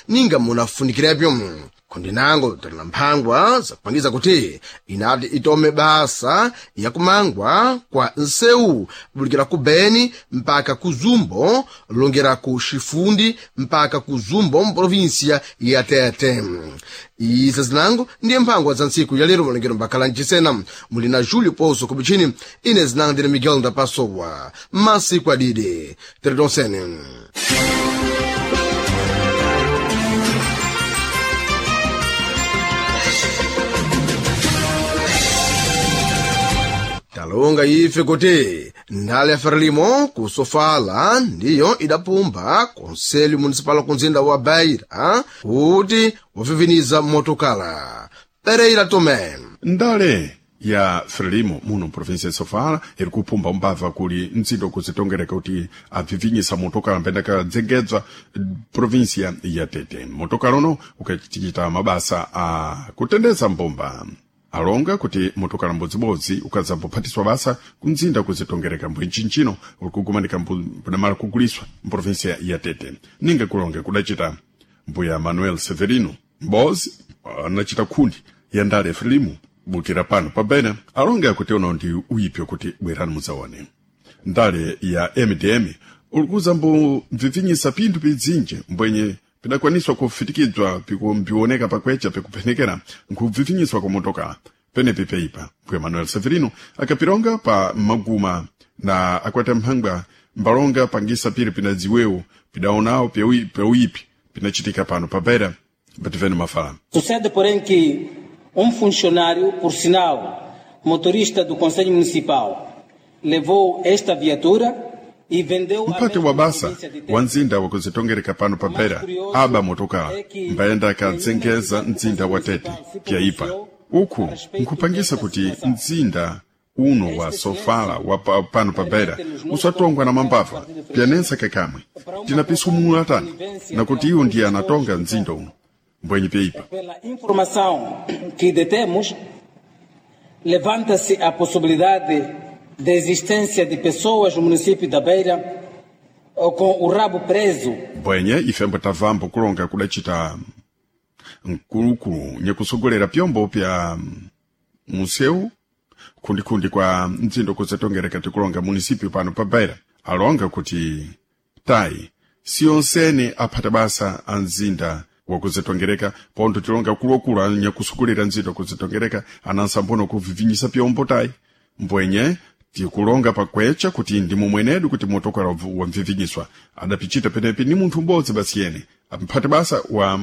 ninga munafunikirepyo. Kundinango talina mphangwa zakupangiza kuti inati itome basa yakumangwa kwa nsewu bulikira ku Beni mpaka ku Zumbo, longera ku Xifundi mpaka ku Zumbo mprovinsia ya Tete. Isa zinango ndiye mphangwa za ntsiku ya lero malongero mbakhala mchisena. Muli na Julio Pouso kubichini, ine zinango ndine Miguel Ndapasowa. Masiku adide teretonsene. Talonga ife kuti ndale ya Frelimo kusofala ndiyo idapumba konselho municipal kunzinda wa Beira kuti waviviniza motokala. Pereira Tomé. Ndale ya Frelimo muno mprovinsia ya Sofala iri kupumba umbava kuli ntsindo kuzitongereka kuti abvivinyisa motokala mbenda kadzengedzwa provinsia ya Tete. Motokala uno ukachichita mabasa a kutendeza mbomba. Alonga kuti motokala mbodzibodzi ukadzambophatiswa basa kumzinda kuzitongereka mbwenchinchino uri kugumanika mbudamala kuguliswa mprovinsia ya Tete. Ninga kulonge kudacita mbuya Manuel Severino mbozi anachita khundi ya ndale ya Frelimo bukira pano pabena alonga kuti uno ndi uyipyo kuti bwerani mudzaone. Ndale ya MDM ulikuza mbu mvivinyisa pinthu pidzinje mbwenye pidakwaniswa kufitikidzwa pikumbiwoneka pakwecha pikuphenekera nkubvivinyiswa kwa motoka penepi peipa. Mbuya Manuel Severino akapilonga pa maguma na akwata mphangwa mbalonga pangisa pili pinadziwewo pidaonawo pyauipi pinachitika pano pa Beira bativene mafala. Sucede, porém, que funcionário, por sinal, motorista do Conselho Municipal, levou esta viatura e vendeu à Mpate mesma wa basa província de Tete. wa mzinda wakuzitongereka pano pa Beira aba motokala mbayenda akadzengeza mzinda wa Tete pyaipa. Uku nkhupangisa kuti mzinda uno wa Sofala wa pano pa Beira usatongwa na mambava pyanensa kakamwe. Tinapisumula tani nakuti iwo ndiye anatonga mzinda uno mbwenye pyaipa. Pela informação que detemos, levanta-se a possibilidade de existência de pessoas no município da Beira com o rabo preso. Mbwenye ifembo tavambo kulonga kudacita mkulukulu nyakusogolera pyombo pya museu khundikhundi kwa mdzindo kuzitongereka tikulonga munisipyu pano pa Beira. Alonga kuti tayi siyonsene aphata basa a mzinda wakuzitongereka pontho tilonga kulokulu anyakusogolera mzinda wakuzitongereka anansambono kuvivinyisa pyombo tayi. Mbwenye tikulonga pakwecha kuti ndi mumwenedu kuti motokala wamvivinyiswa adapichita penepi ni munthu m'bodzi basi yene amphate basa wa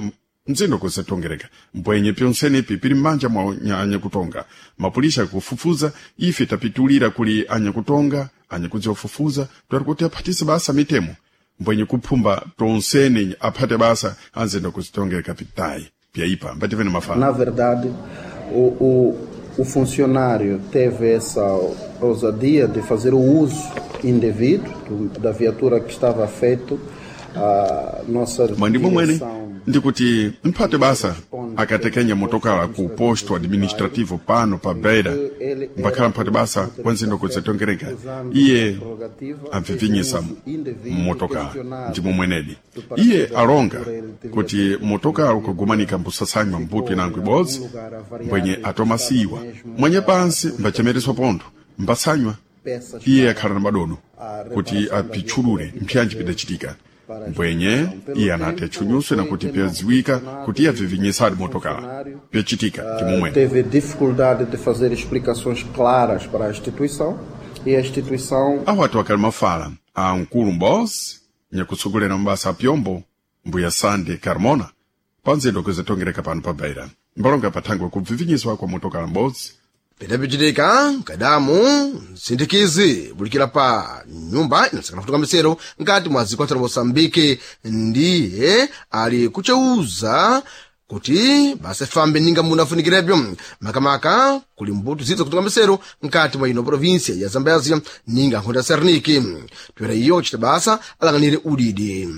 mzindo kuzitongereka. Mbwenye pyonsenepi pili m'manja mwa anyakutonga. Mapulisha akufufuza ife tapitulira kuli anyakutonga anyakudziwafufuza twari kuti aphatise basa mitemo mbwenye kuphumba tonsene aphate basa anzinda kuzitongereka pitayi pyaipa mbativene mafala. Na verdade, o funcionário teve essa ousadia de fazer o uso indevido da viatura que estava feito à nossa Mwandimo mwene direção. ndikuti mphate basa akatekenya motokala ku posto administrativo pano pa Beira mbakhala mphate basa wa nzindo kuzitongereka iye amvivinyisa motokala. Ndimo mwenedi iye alonga kuti motokala ukagumanika mbusasanywa mbuto inango ibodzi mbwenye atomasiwa mwenye pansi mbachemereswa pontho mbasanywa iye akhala na madodo kuti apitchulule mpyanji pidachitika. Mbwenye iye anati atchunyuswe nakuti pyadziwika kuti iye abvivinyisadi motokala pyachitika ndimomwene. Teve dificuldade de fazer explicações claras para a instituição e a instituição Awatu akali mafala a mkulu m'bozi nyakutsogolera mabasa a pyombo mbuya Sande Carmona panzindo kuzitongereka pano pa Beira mbalonga pathangwe kubvivinyiswa kwa motokala m'bodzi. Pidapichitika nkadamu msindikizi bulikira pa nyumba inasakana kutoka misero nkati mwa dziko la Moçambique ndiye ali kucheuza kuti basa fambe ninga munafunikirepyo makamaka kuli mbuto zidza kutoka misero nkati mwa ino provinsia ya Zambezia ninga nkhonda Serniki toera iyo kuchita basa alang'anire udidi.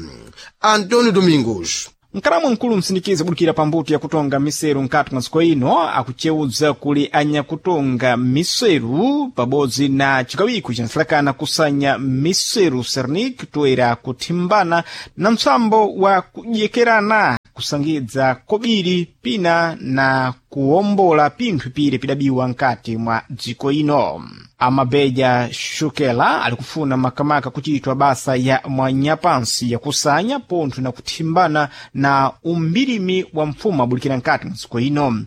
Antonio Domingos. Mkalamu mkulu msindikizi budikira pambuto yakutonga miseru nkati mwa dziko ino akucewudza kuli anyakutonga miseru pabodzi na chikawiko cinasalakana kusanya miseru Sernik toera kuthimbana na mtsambo wa kudyekerana. kusangidza kobiri pina na kuwombola pinthu pire pidabiwa nkati mwa dziko ino. Amabeja Shukela ali kufuna makamaka kuchitwa basa ya mwanyapansi yakusanya pontho na kuthimbana na umbirimi wa mfumo abulikira nkati mwa dziko ino.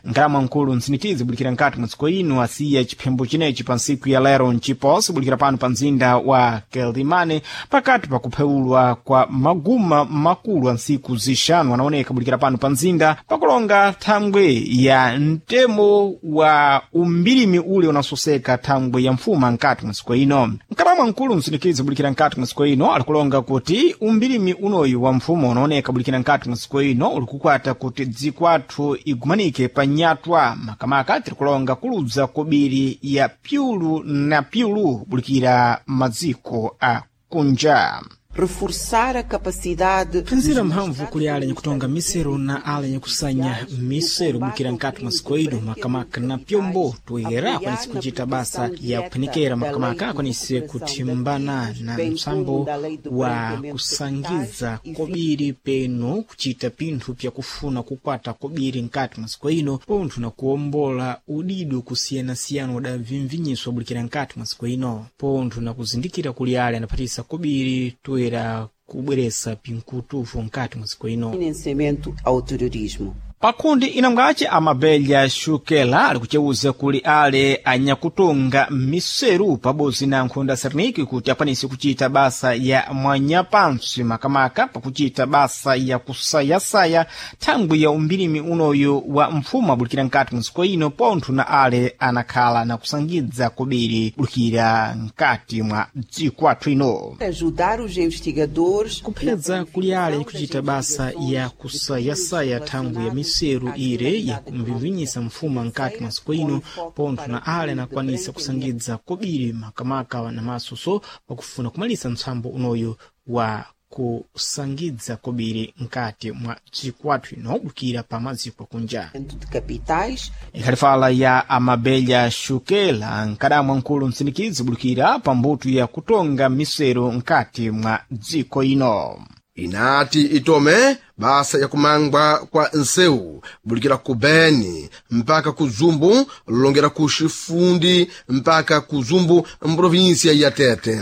Nkalama mkulu mtsinikizi bulikira nkati mwa dziko ino asiya chiphembo chinechi pa ntsiku ya lero mchiposi bulikira pano pa mzinda wa Quelimane pakati pa kupheulwa kwa maguma makulu a ntsiku zixanu anaoneka bulikira pano pa mzinda pakulonga thangwe ya mtemo wa umbirimi ule unasoseka thangwe ya mfuma nkati mwa dziko ino. Nkalamwa mkulu msindikizi bulikira nkati mwa dziko ino alikulonga kuti umbirimi unoyu wa mfumo unaoneka bulikira nkati mwa dziko ino ulikukwata kuti dziko athu igumanike pa nyatwa makamaka tirikulonga kuludza kobiri ya pyulu na pyulu bulikira madziko a kunja. Reforçar a capacidade. Phinzira mphamvu kuli ale nyakutonga misero na ale nyakusanya misero bukira nkati mwa siku ino makamaka na pyombo toyera akwanise kuchita basa ya kuphenikera makamaka akwanise kuthimbana na msambo wa kusangiza kobiri peno kuchita pinthu pyakufuna kukwata kobiri nkati mwa siku ino pontho na kuwombola udido kusiyanasiyana udavimvinyiswa bulikira nkati mwa siku ino pontho na kuzindikira kuli ale anaphatisa kobiri toyera kubweresa pinkutufu nkati mwa siku ino. Financiamento ao terrorismo. Pakundi inangace amabelha Shukela ali kuceuza kuli ale anyakutonga miseru pabodzi na nkhunda Serniki kuti akwanise kuchita basa ya mwanyapansi makamaka pakuchita basa ya kusayasaya thangwi ya umbirimi unoyu wa mfumo abulikira nkati mwa dziko ino pontho na ale anakhala na kusangidza kobiri bulikira nkati mwa dziko athu ino. Ajudar os investigadores. Kuphedza kuli ale kuchita basa ya kusayasaya thangwi ya miseru ire yakumvivinyisa mfuma nkati mwa siku ino pontho na ale anakwanisa kusangidza kobiri makamaka na masoso pakufuna kumalisa mtsambo unoyu wa kusangidza kobiri nkati mwa dziko athu ino bukira pa maziko akunja. De capitais. Ikhalifala ya Amabelha Shukela nkadamwa mkulu msindikizi bulikira pa mbuto ya kutonga misero nkati mwa dziko ino. Inati itome basa yakumangwa kwa nsewu bulikira ku Beni mpaka ku Zumbu longera ku Xifundi mpaka ku Zumbu mprovinsia ya Tete.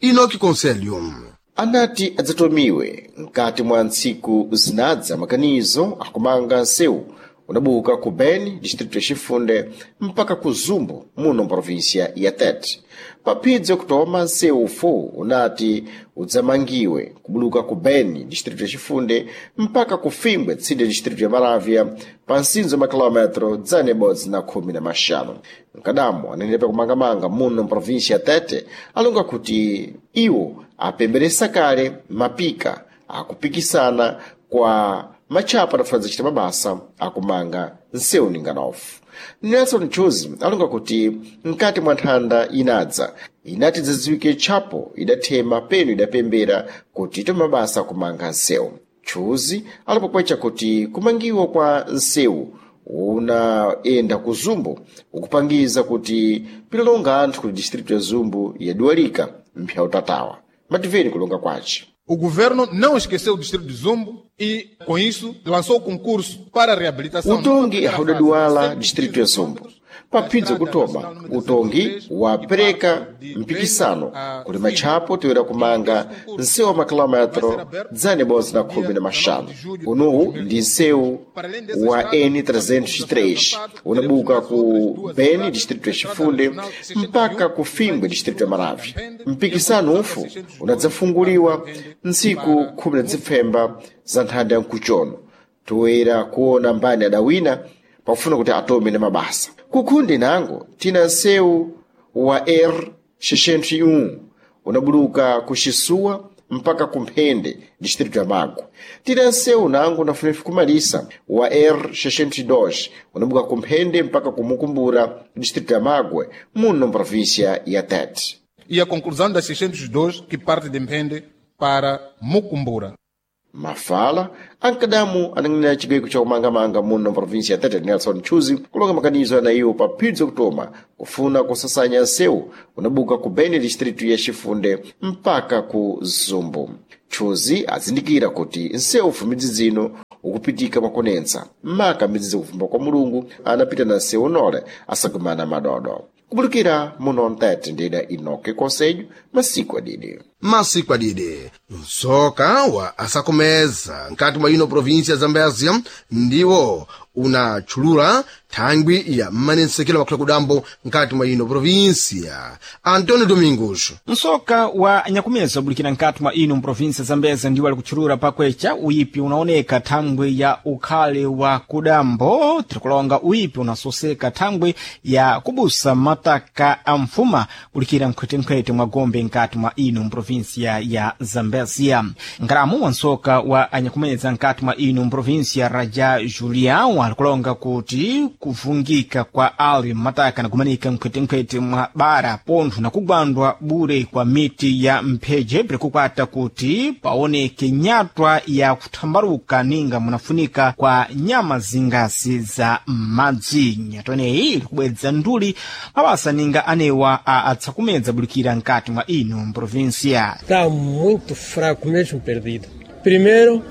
Inoki Conselho Anati adzatomiwe mkati mwa ntsiku zinadza makanizo akumanga nsewu unabuka ku Beni, distrito ya Chifunde, mpaka ku Zumbu muno mprovinsia ya Tete. Paphidzi kutoma nsewu ufu unati udzamangiwe kubuluka ku Beni, distrito ya Chifunde, mpaka ku Fimbwe, tsinde distrito ya Maravya, pa nsinzo makilometro 115. Mkadamo anenepa kumangamanga muno mprovinsia ya Tete alonga kuti iwo apemberesa kale mapika akupikisana kwa matchapo adafuna chita mabasa akumanga nsewu ninganofu. Nelson Chuzi alonga kuti mkati mwa nthanda inadza inati dzidziwike tchapo idathema peno idapembera kuti itome mabasa akumanga nsewu. Chuzi alipokwecha kuti kumangiwa kwa nsewu unaenda ku Zumbu ukupangiza kuti pilalonga anthu ku distrito ya Zumbu yaduwalika mpya utatawa. Mativeni kulonga kwace. O governo não esqueceu o distrito de Zumbo e, com isso, lançou o concurso para a reabilitação. Utongi haudaduwala distrito ya Zumbo. Paphidzi kutoma, utongi wapereka mpikisano kuli matchapo toyera kumanga nsewu wa makilometro 115. Unuwu ndi nsewu wa N303 unabuka ku Beni, distrito ya Chifunde, mpaka ku Fimbwe, distrito ya Maravya. Mpikisano ufu unadzafunguliwa ntsiku 17 za nthanda ya mkuchono toyera kuona mbani adawina pakufuna kuti atome na mabasa. Kukhundi nango tina nsewu wa R601 unabuluka ku Xisuwa mpaka ku Mphende, distrito ya Magwe. Tina nsewu nango unafunefu kumalisa wa R602 unabuka ku Mphende mpaka ku Mukumbura, distrito ya Magwe, muno mprovíncia ya Tete. E a conclusão das 602 que parte de Mphende para Mucumbura. Mafala ankadamu anang'anira chigweko cha kumangamanga muno mprovinsia ya Tete Nelson Chuzi kulonga makanizo anayiwo pa phidzi kutoma kufuna kusasanya nsewu unabuka ku Beni distritu ya Chifunde mpaka ku Zumbu. Chuzi azindikira kuti nsewu fumidzi zino ukupitika mwakonensa maka mbidziza kufumba kwa mulungu anapita na nsewu nole asagumana madodo kubulikira muno mtete ndida inoke konselho masiku adidi Masiku adidi msoka wa asakomeza nkati mwa ino provinsia ya Zambezia ndiwo unatchulula thangwi ya mmanensekelo makhula kudambo nkati mwa ino provinsia. Antonio Domingos. Msoka wa nyakumeza ubulikira nkati mwa ino mprovinsia Zambeza ndiwo ali kutchulula pakwecha uyipi unaoneka thangwi ya ukhale wa kudambo. Tirikulonga uyipi unasoseka thangwi ya kubusa mataka a mfuma kulikira nkhwetenkhwete mwa gombe nkati mwa ino mprovinsia ya Zambezia. Nkalamu wa msoka wa anyakumeza nkati mwa ino mprovinsia Raja Julião alikulonga kuti kuvungika kwa ali mataka nakumanika nkhwetenkhwete mwa bara pontho nakugwandwa bure kwa miti ya mpheje pirikukwata kuti paoneke nyatwa ya kuthambaruka ninga munafunika kwa nyama zingasi za madzi. Nyatwa ineyi ilikubwedza nduli mabasa ninga anewa a atsakumedza bulikira nkati mwa ino mprovinsia. Está muito fraco mesmo, perdido. Primeiro,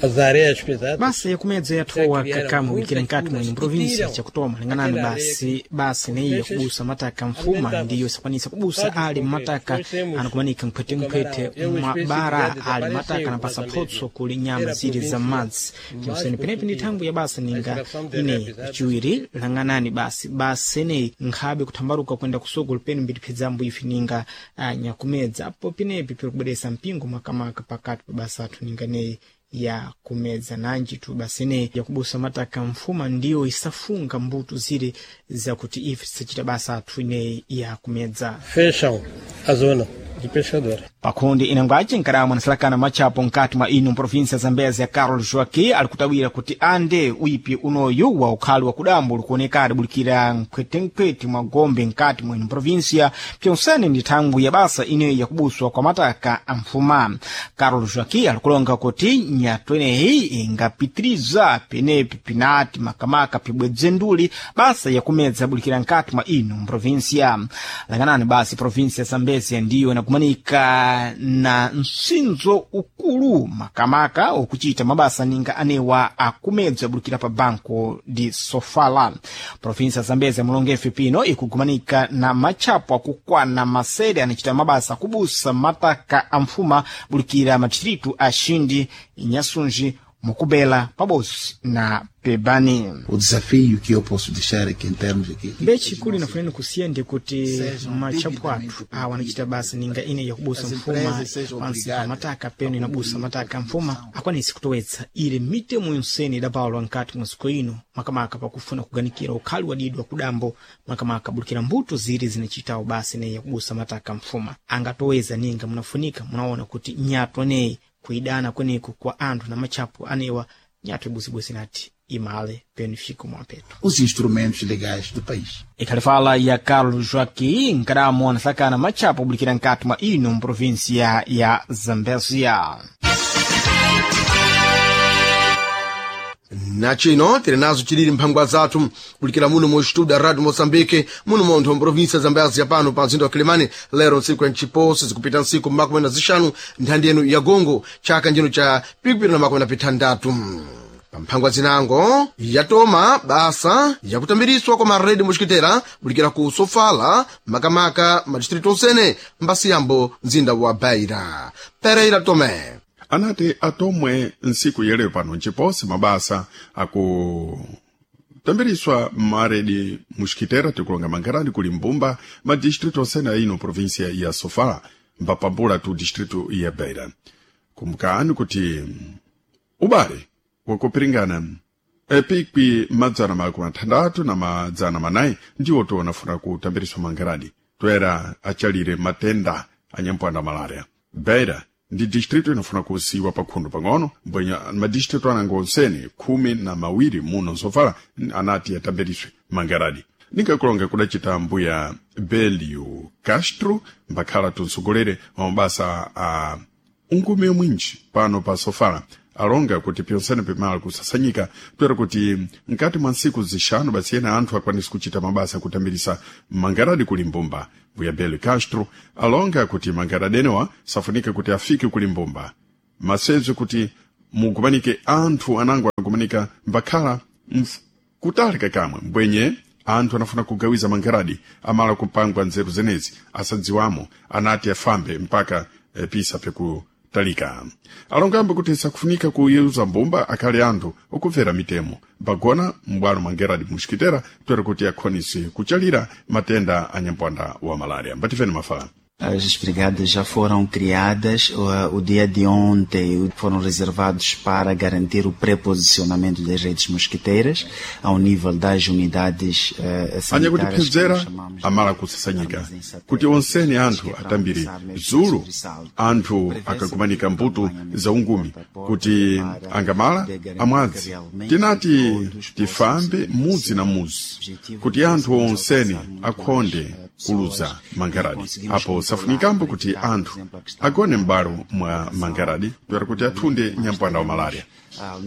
as areias pesadas. Basa yakumedza yathowa kakamu kulikira nkati mwa ino provinsia chakutoma linganani basi basi neyi yakubusa mataka mfuma ndiyo isakwanisa kubusa ali mataka anakumanika nkhwetenkhwete mwa bara ali mataka anapasa photso kuli nyama zili za madzi chimseni penepi ndi thangwi ya basa ninga ineyi. Chiwiri langanani basi basa ineyi nkhabe kuthambaruka kwenda kusogolo penu mbitiphedzambo ife ninga nyakumedza apo penepi pirikubweresa mpingo makamaka pakati pa basa athu ninga neyi ya kumedza nanji tu basi ineyi yakubusa mataka mfuma ndiyo isafunga mbuto zile zakuti ife tisachita basa athu ineyi ya kumedza. Fecham a zona de pescadores. Pakhundi inangwaci nkalamu anasalakana matchapo nkati mwa ino mprovinsia Zambezia Carol Joaqui ali kutawira kuti ande uyipi unoyu wa ukhali wa kudambo ulikuonekana bulikira nkhwetenkhwete mwa gombe nkati mwa ino mprovinsia pyonsene ndi thangwi ya basa ineyi yakubuswa kwa mataka a mfuma. Carol Joaqui alikulonga kuti nyatwa ineyi ingapitiriza penepi pinati makamaka pibwedze nduli basa yakumedza bulikira nkati mwa ino mprovinsia. Langanani basi provinsia Zambezia ndiyo inakumanika na msinzo ukulu makamaka okuchita mabasa ninga anewa akumedza bulikira pa banco di Sofala. Provinsia ya Zambezia mulongefe pino ikugumanika na matchapo akukwana masere anachita mabasa akubusa mataka a mfuma bulikira madistritu a Xindi, Inhasunji, Mukubela pabodzi na Pebani. O desafio que eu posso deixar aqui em termos aqui. Mbechi kuli nafuneni kusiya ndi kuti matchapo athu awa anachita basa ninga ine yakubusa mfuma pansi pa mataka peno inabusa mataka mfuma akwanisi kutowetsa ile mitemo yonsene idapalwa nkati mwa dziko ino makamaka pakufuna kuganikira ukhali wadidwa kudambo makamaka bulikira mbuto zili zinachitawo basa ineyi yakubusa mataka mfuma angatoweza ninga munafunika munaona kuti nyatwa neyi kuidana kweneku kwa anthu na matchapo anewa nyatwa ibusibwisi nati imale peno ifiko mwapeto. Os instrumentos legais do país. Ikhalifala ya Carlos Joaquim nkadamo anasakana matchapo obulikira nkati mwa ino mprovinsia ya Zambezia. Nachino tili nazo chilili mphangwa zathu kulikira muno mu estudio da Radio Moçambique muno montho mprovinsia ya Zambezia pano pa mzinda wa Quelimane lero ntsiku ya nchiposi zikupita ntsiku 15 nthandi yenu ya gongo chaka njino cha 2026. Pamphangwa zinango yatoma basa yakutambiriswa kwa maredi muxikitera kulikira ku Sofala makamaka madistritu onsene mbasiyambo mzinda wa Beira. Pereira Tomé. Anati atomwe ntsiku yeleyo pano nciposi mabasa akutambiriswa maredi muxikitera tikulonga mangarani kuli mbumba madistritu osene aino provinsia ya Sofala mbapambula tu distritu ya Beira. Kumbukani kuti ubale wakupiringana epikwi 664 ndiwo tionafuna kutambiriswa mangarani toera achalire matenda anyampwanda malaria. Beira ndi distritu inafuna kusiwa pakhundu pang'ono mbwenya madistritu anango onsene 12 muno sofala anati atambiriswe mangaradi. Ningakulonga kudacita mbuya Belio Castro mbakhala tunsogolere wa mabasa a ungume mwinji pano pa Sofala alonga kuti pyonsene pimala kusasanyika toera kuti nkati mwa ntsiku zixanu basi ena anthu akwanise kuchita mabasa akutambirisa mangaradi kuli mbumba. Mbuya Belio Castro alonga kuti mangaradi enewa safunika kuti afike kuli mbumba masezo kuti mugumanike anthu anango anafunika mbakhala kutalika kamwe mbwenye anthu anafuna kugawiza mangeradi amala kupangwa nzeru zenezi asadziwamo anati afambe mpaka pisa pekutalika. Alongambo kuti sakufunika kuyeuza mbumba akhale anthu okumvera mitemo mbagona m'bwalo mangeradi muxikitera toera kuti akhonise kuchalira matenda a nyampwanda wa malaria. Mbatifeni mafala. As brigadas já foram criadas, o dia de ontem foram reservados para garantir o pré-posicionamento das redes mosquiteiras ao nível das unidades sanitárias. Anyakutipezera amala kusasanyika kuti onsene anthu atambire zulu anthu akakumanika mbuto za ungumi kuti angamala amwadzi. Tinati tifambe mudzi na mudzi kuti anthu onsene akhonde kuluza mangaradi. Apo safunikambo kuti anthu agone m'balo mwa mangaradi toera kuti athunde nyampwanda wa malaria.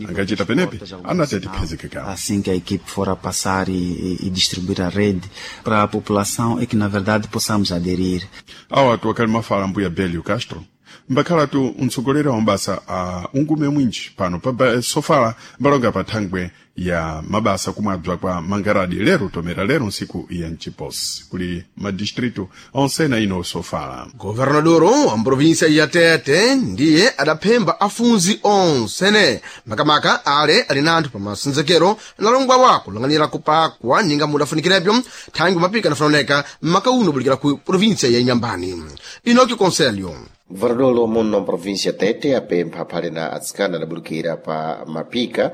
Angachita penepe anati atiphezekekawo. Assim que a equipe for a passar e distribuir a rede para a população é que na verdade possamos aderir. Awa atu akali mafala mbuya Belio Castro mbakhalatu mtsogoleri wa mabasa a ungume mwinji pano pa sofala mbalonga pa thangwe ya mabasa kumwabza kwa mangaradi lero tomera lero nsiku ya mchiposi kuli madistritu onsena ino sofala. Governadoro wa mprovinsia ya Tete ndiye adaphemba afunzi onsene makamaka ale ali na anthu pa masenzekero analongwa wa kulang'anira kupakwa ninga mudafunikirepyo thangwi mapika anafunaoneka m'makauno bulikira ku provinsia ya Inyambani. Inoki Conselho. Governador muno mprovinsia Tete apempha aphale na atsikana adabulukira pa mapika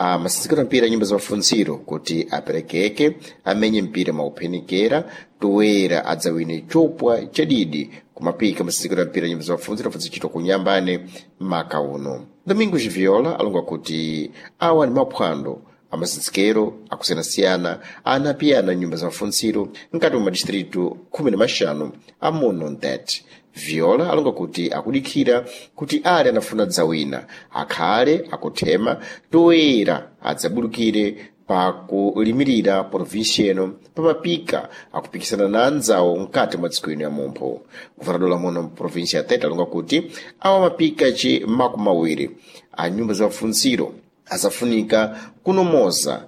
a masenzekero mpira nyumba za mafunziro kuti aperekeke amenye mpira mwauphenikera toera adzawine chopwa chadidi kumapika masenzekero mpira nyumba za mafunziro afazichitwa kunyambane maka uno. Domingos Viola alonga kuti awa ni maphwando amasenzekero akusiyanasiyana anapiyana nyumba za mafunziro mkati mwa madistritu 15 amuno mtete. Viola alonga kuti akudikhira kuti ale anafuna dzawina akhale akuthema toera adzabulukire pakulimirira provinsia ino pamapika akupikisana na anzawo mkati mwa dziko ino ya mumpho. Guvernador muno mprovinsia ya Tete alonga kuti awa mapika ci 20 a nyumba za mafunziro azafunika kunomoza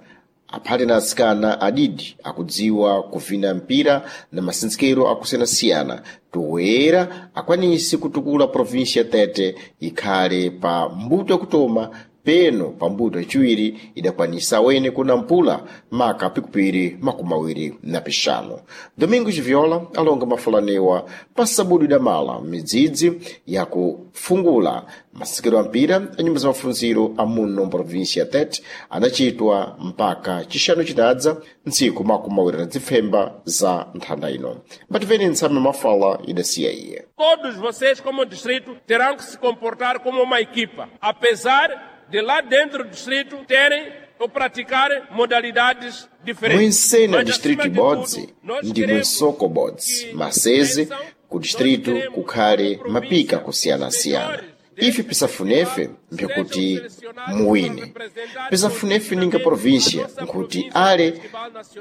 aphale na atsikana adidi akudziwa kuvina mpira na masenzekero akusiyanasiyana toera akwanise kutukula provinsia Tete ikhale pa mbuto yakutoma peno pa mbuto yaciwiri idakwanisa wene kuna mpula maka pikupiri 25. Domingos Viola alonga mafulanewa pa sabudu idamala midzidzi yakufungula masekero a mpira a nyumba za mafunziro amuno mprovinsia Tete anachitwa mpaka chixanu chitadza ntsiku 25 za nthanda ino. Mbativeni ntsame mafala idasiya iye. Todos vocês como distrito terão que se comportar como uma equipa, apesar de lá dentro do distrito terem ou praticar modalidades diferentes. Muensena distrito ibodzi ndi munsoko bodzi, maseze ku distrito kukhale mapika kusiyanasiyana. Ife pisafunefe mpyakuti muwine, pisafunefe ninga província nkuti ale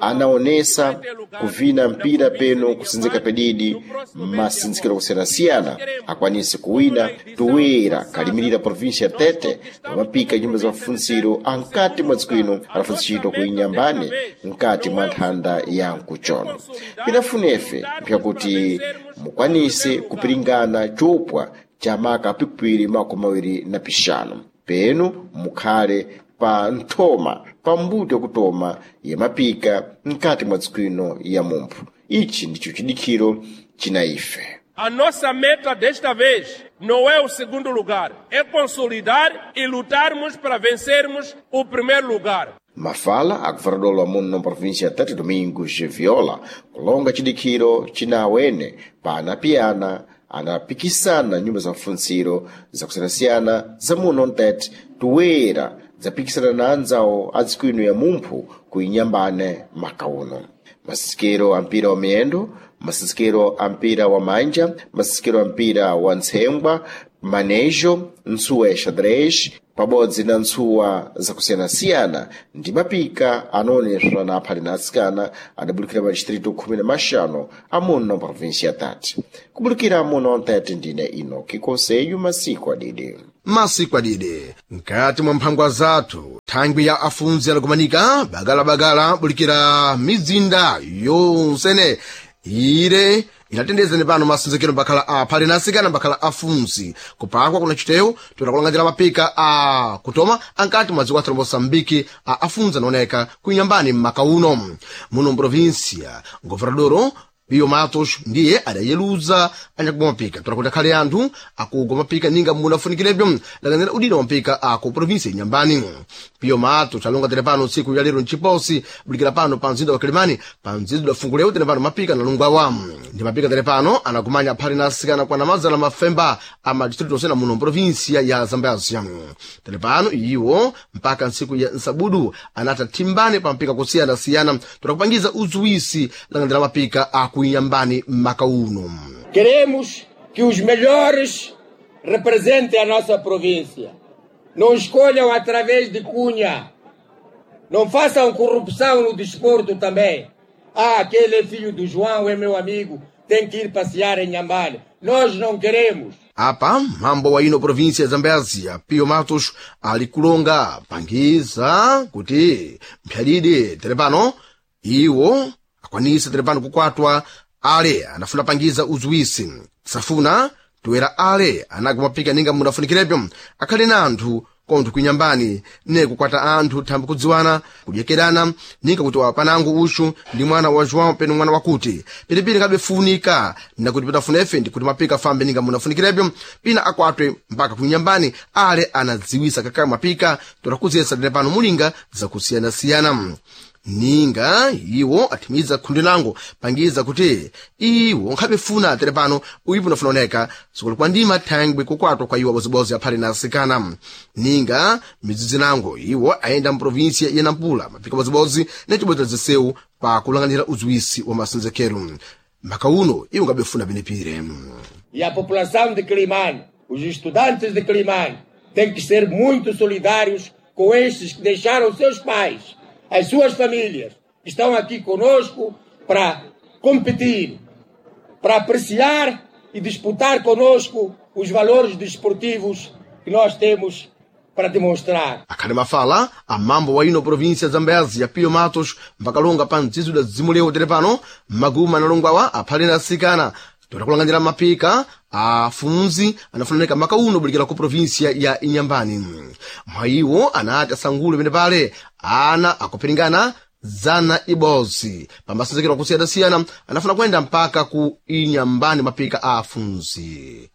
anaonesa kuvina mpira peno kusinzika pedidi masinzikiro kusiyanasiyana akwanise kuwina toera kalimirira província Tete pamapika nyumba za mafunziro ankati mwa dziko ino anafunzitchitwa ku Inyambane mkati mwa nthanda ya nkuchono. Pinafunefe mpyakuti mukwanise kupiringana chopwa cha maka pikupiri 25 penu mukhale pa nthoma pa mbuto yakutoma ya mapika mkati mwa dziko ino ya mumphu. Ichi ndicho chidikhiro china ife. A nossa meta desta vez não é o segundo lugar, é consolidar e lutarmos para vencermos o primeiro lugar. Mafala a governador wa muno mprovinsia ya Tete Domingos Viola kulonga chidikhiro china awene pa anapiyana anapikisana nyumba za mfunziro zakusiyanasiyana za muno mtete toera dzapikisana na anzawo a dziko ino ya mumphu ku Inyambane maka uno. Masikero a mpira wa miyendo, masikero a mpira wa manja, masikero a mpira wa ntsengwa, manejo, ntsuwa ya xadrez, Pabodzi na ntsuwa zakusiyanasiyana ndi mapika anaoneswa na aphale na atsikana adabulukira madistritu 15 amuno provinsi ya Tete. Kubulukira muno Tete ndine Inoki Konseyu masiku adidi. Masiku adidi mkati mwa mphangwa zathu thangwi ya afunzi anakumanika bagalabagala bulikira mizinda yonsene ire inatendezani pano masenzekero mbakhala aphale na asikana mbakhala afunzi kupakwa kuna chitewu tutakulangadzira mapika a kutoma ankati mwa dziko athu la moçambike a afunzi anaoneka kuinyambani m'maka uno muno mprovinsia governadoro Pio Matos ndiye adayeluza anyakugwa mapika tola kuti akhale anthu akugwa mapika ninga munafunikirebyo lakanira udina wa mapika aku provinsi inyambani. Pio Matos alonga tere pano tsiku ya lero mchiposi bulikira pano pa mzinda wa Kilimani pa mzinda udafungulewo tere pano mapika analungwawa ndi mapika tere pano anakumanya aphale na asikana kwa namazana mafemba a madistritu osena muno mprovinsia ya Zambezia. Tere pano iwo mpaka ntsiku ya nsabudu anata thimbane pa mapika kusiyanasiyana tola kupangiza uzuwisi langandira mapika aku Inhambane maka uno. Queremos que os melhores representem a nossa província. Não escolham através de cunha. Não façam corrupção no desporto também. Ah, aquele é filho do João, é meu amigo, tem que ir passear em Inhambane. Nós não queremos. Apa mambo wa ino província ya Zambésia Pio Matos ali kulonga pangiza kuti mphyadidi tere pano iwo akwanise tere pano kukwatwa ale anafuna pangiza uzuwisi safuna toera ale anagwa mapika ninga munafunikirebyo akhale na anthu kontho kuinyambani ne kukwata anthu thambi kudziwana kudyekerana ninga kuti wapanango uxu ndi mwana wa João peno mwana wakuti pilipili kabefunika nakuti pitafuna efe ndikuti mapika fambe ninga munafunikirebyo pina akwatwe mpaka kuinyambani ale anadziwisa kakaye mapika tola kuziyesa tene pano mulinga zakusiyanasiyana ninga iwo athimiza khundi lango pangiza kuti iwo nkhabefuna tere pano uyipo unafuna oneka sukulu kwa ndima thangwi kukwatwa kwa iwo abozibozi aphale na asikana ninga midzidzi nango iwo ayenda mprovinsia ya Nampula mapika abozibozi ne chibwezera zisewu pa kulang'anira uziwisi wa masenzekero maka uno iwo ngabefuna penepire. E a população de Quelimane, os estudantes de Quelimane, têm que ser muito solidários com estes que deixaram seus pais, as suas famílias, que estão aqui conosco para competir, para apreciar e disputar conosco os valores desportivos que nós temos para demonstrar. Akhale mafala amambo wa ino província ya Zambésia Pio Matos mpakalonga pa mdzidzo da dzimulewo tere pano maguma analongwawa aphale na asikana tola kulang'anira mapika afunzi anafunanika maka uno bulikira ku província ya Inhambane. Mwa iwo anati asangule pene pale ana akuphiringana 100 pamasenzekero akusiyana-siyana anafuna kuyenda mpaka ku Inhambane mapika a afunzi.